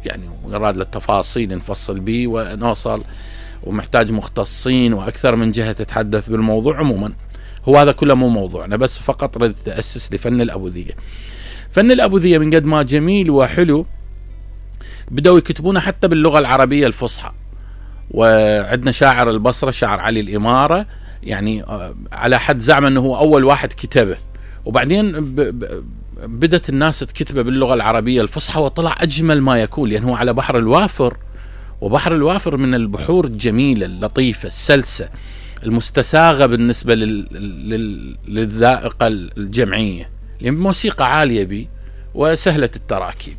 يعني يراد للتفاصيل نفصل به ونوصل، ومحتاج مختصين وأكثر من جهة تتحدث بالموضوع. عموما هو هذا كله مو موضوعنا، بس فقط ردت تأسس لفن الأبوذية. فن الأبوذية من قد ما جميل وحلو بدأوا يكتبونه حتى باللغة العربية الفصحى. وعندنا شاعر البصرة شاعر علي الإمارة يعني على حد زعم أنه هو أول واحد كتبه، وبعدين بدت الناس تكتبه باللغة العربية الفصحى وطلع أجمل ما يكون، لأنه على بحر الوافر، وبحر الوافر من البحور الجميلة اللطيفة السلسة المستساغة بالنسبة للذائقة الجمعية، لأن موسيقى عالية بي وسهلة التراكيب.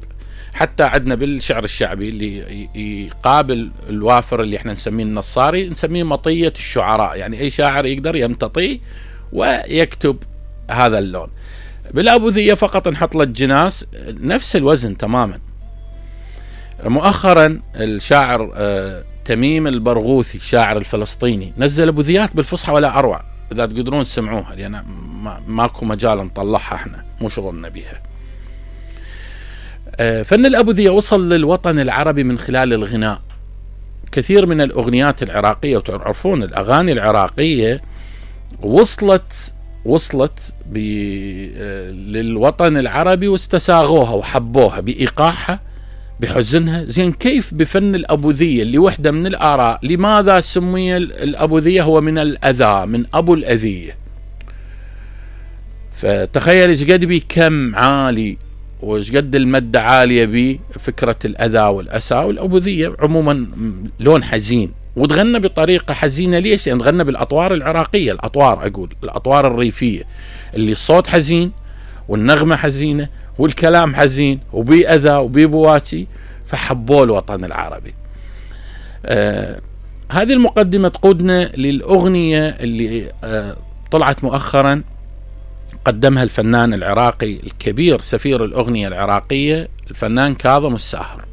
حتى عندنا بالشعر الشعبي اللي يقابل الوافر اللي احنا نسميه النصاري نسميه مطية الشعراء، يعني أي شاعر يقدر يمتطي ويكتب هذا اللون. بالأبوذية فقط نحط له الجناس نفس الوزن تماما. مؤخرا الشاعر تميم البرغوثي الشاعر الفلسطيني نزل أبوذيات بالفصحى ولا أروع، إذا تقدرون تسمعوها، لأن ماكو مجال نطلعها، احنا مو شغلنا بها. فن الأبوذية وصل للوطن العربي من خلال الغناء. كثير من الأغنيات العراقية، وتعرفون الأغاني العراقية وصلت للوطن العربي واستساغوها وحبوها بإيقاعها بحزنها. زين كيف بفن الأبوذية اللي وحدة من الآراء لماذا سمي الأبوذية هو من الأذى، من أبو الأذية؟ فتخيل ايش قد بي كم عالي وايش قد المادة عالية بي فكرة الأذى والأسى. والأبوذية عموما لون حزين، وتغنى بطريقة حزينة. ليش؟ يعني تغنى بالأطوار العراقية، الأطوار الريفية اللي الصوت حزين والنغمة حزينة والكلام حزين وبي أذى وبي بواتي، فحبوا الوطن العربي. هذه المقدمة تقودنا للأغنية اللي طلعت مؤخرا قدمها الفنان العراقي الكبير سفير الأغنية العراقية الفنان كاظم الساهر.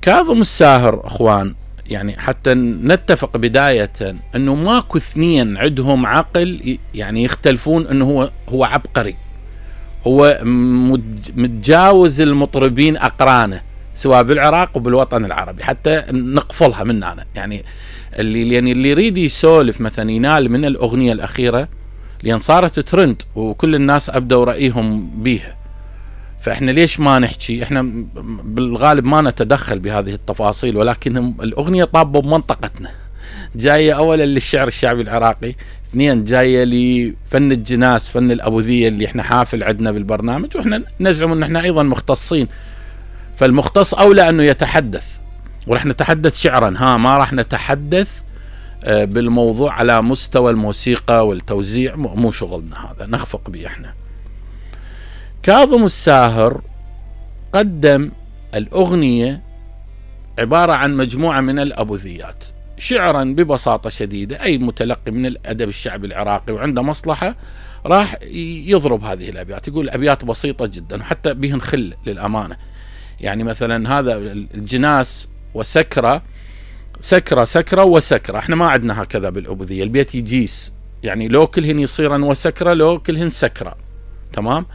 كاظم الساهر أخوان يعني حتى نتفق بداية أنه ماكو اثنين عندهم عقل يعني يختلفون أنه هو عبقري، هو متجاوز المطربين أقرانه سواء بالعراق وبالوطن العربي، حتى نقفلها مننا. يعني اللي يريد يسولف مثلا ينال من الأغنية الأخيرة لأن صارت ترند وكل الناس أبدوا رأيهم بيها، فإحنا ليش ما نحكي؟ إحنا بالغالب ما نتدخل بهذه التفاصيل، ولكن الأغنية طابة بمنطقتنا، جاية أولا للشعر الشعبي العراقي، اثنين جاية لفن الجناس فن الأبوذية اللي إحنا حافل عندنا بالبرنامج، وإحنا نزعم أن إحنا أيضا مختصين، فالمختص أولى أنه يتحدث، ورح نتحدث شعرا ما رح نتحدث بالموضوع على مستوى الموسيقى والتوزيع، مو شغلنا هذا، نخفق به احنا. كاظم الساهر قدم الأغنية عبارة عن مجموعة من الأبوذيات شعرا ببساطة شديدة. أي متلقي من الأدب الشعبي العراقي وعنده مصلحة راح يضرب هذه الأبيات، يقول أبيات بسيطة جدا وحتى بهن خل للأمانة. يعني مثلا هذا الجناس وسكرة، سكرة وسكرة، احنا ما عندنا هكذا بالأبوذية، البيت يجيس، يعني لو كلهن يصيرن وسكرة لو كلهن سكرة، تمام.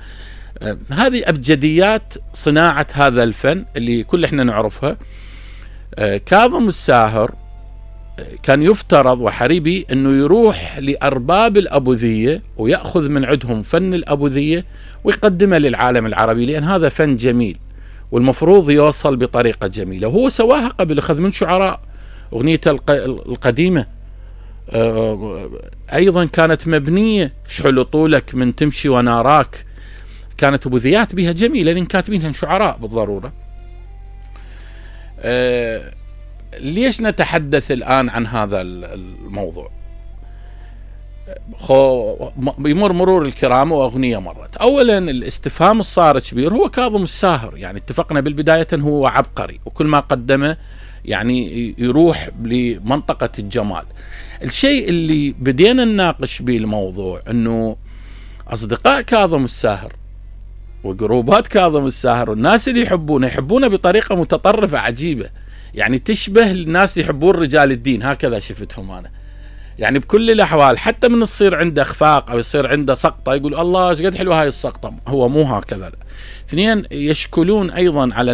هذه أبجديات صناعة هذا الفن اللي كل احنا نعرفها. كاظم الساهر كان يفترض وحريبي انه يروح لأرباب الأبوذية ويأخذ من عندهم فن الأبوذية ويقدمه للعالم العربي، لأن هذا فن جميل والمفروض يوصل بطريقة جميلة. وهو سواها قبل، أخذ من شعراء. أغنية القديمة أيضا كانت مبنية، شحل طولك من تمشي وناراك، كانت أبوذيات بها جميلة لأن كاتبينها شعراء بالضرورة. ليش نتحدث الآن عن هذا الموضوع؟ بيمر مرور الكرام وأغنية مرت. أولا الاستفهام الصار كبير، هو كاظم الساهر يعني اتفقنا بالبداية هو عبقري وكل ما قدمه يعني يروح لمنطقة الجمال. الشيء اللي بدينا نناقش به الموضوع أنه أصدقاء كاظم الساهر وجروبات كاظم الساهر والناس اللي يحبونه بطريقة متطرفة عجيبة، يعني تشبه الناس اللي يحبون رجال الدين، هكذا شفتهم أنا. يعني بكل الأحوال حتى من يصير عنده إخفاق أو يصير عنده سقطة يقول الله ايش قد حلوة هاي السقطة، هو مو هكذا. اثنين يشكلون أيضا على